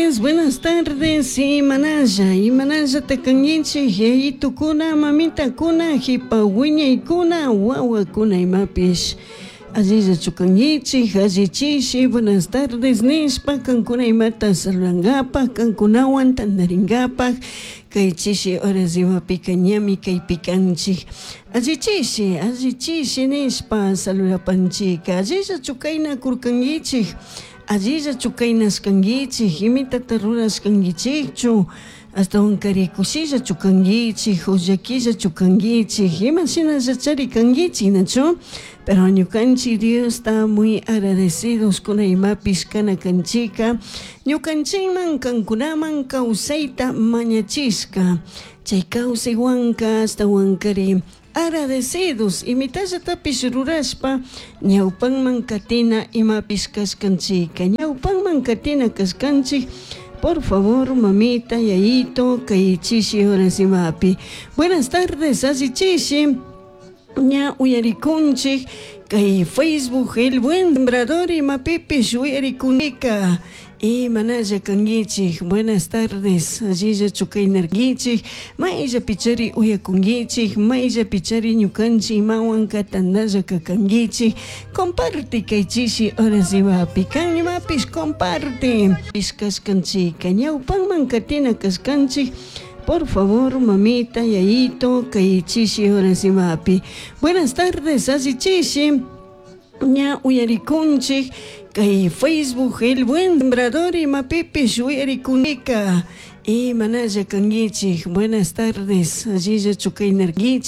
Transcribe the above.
Buenas tardes, imanalla, imanallata kankichik, yayitukuna, mamitakuna, hipa wiñaykuna, wawakuna imapish. Allillachu kankichik, allichishi, buenas tardes nishpa, kankuna imata saludangapak, kankunawan tantaringapak, kay chishi horas imapika ñami kaypi kanchik. Allichishi, allichishi nishpa saludapanchika, allillachu kaynakurkankichik, allillachu kaynashkankichik, imitata rurashkankichikchu, ashtawankari kushillachu kankichik, o llakillachu kankichik, ima shinallachari kankichik, nachu? Pero ñukanchik Diosta muy agradecidos kuna imapish kana kanchika, ñukanchikman kankunaman kawsayta mañachishka, chay kawsaywanka ashtawankari agradecidos imitallatapish rurashpa ñawpanman katina imapish kashkanchika, ñawpanman katina kashkanchik. Por favor, mamita, yayito, kay chishi horas imapi. Buenas tardes, allichishi. Ña uyarikunchik kay Facebook El Buen Sembrador imapipish uyarikunika. Imanalla kankichik, buenas tardes, allillachu kaynarkichik, mayllapichari uyakunkichik, mayllapichari ñukanchik imawanka tantalla kakankichik. Comparte kay chishi horas imapi, kan imapish comparte. Kashkanchika, ñawpanman katina kashkanchik. Por favor, mamita, yayito, kay chishi horas imapi. Buenas tardes, allichishi. Ña uyarikunchik kay Facebook El Buen Sembrador imapipish uyarikunika. Imanalla kankichik, buenas tardes, allillachu kaynarkichik.